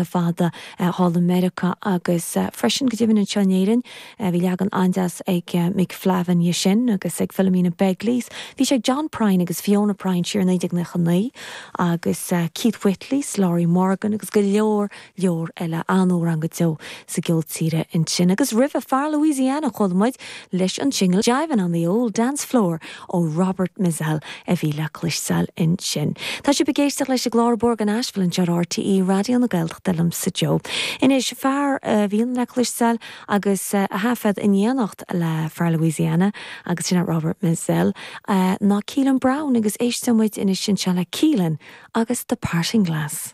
Fada thall i Meiriceá agus freisin go deimhin anseo in Éirinn. Bhí leagan an-deas ag Mick Flavin dhe sin agus ag Philomena Begley. Bhí sé ag John Prine agus Fiona Prine siar i 1999 agus Keith Whitley 's Laurie Morgan agus go leor leor eile. An-amhrán go deo sa gceol tíre ansin. Agus roimhe, fear Louisiana, chuala muid leis an singil Jivin' on the Old Dance Floor ó Robert Mizzell a bhí le cloisteáil ansin. Tá sibh ag éisteacht leis an gclár Bóthar go Nashville anseo ar RTÉ Raidió na Gaeltachta liomsa Joe. Anois, fear a bhíonn le cloisteáil agus a thaifead in éineacht le fear Louisiana agus sin é Robert Mizzell ná Keelan Brown agus éisteoidh muid anois anseo le Keelan agus The Parting Glass.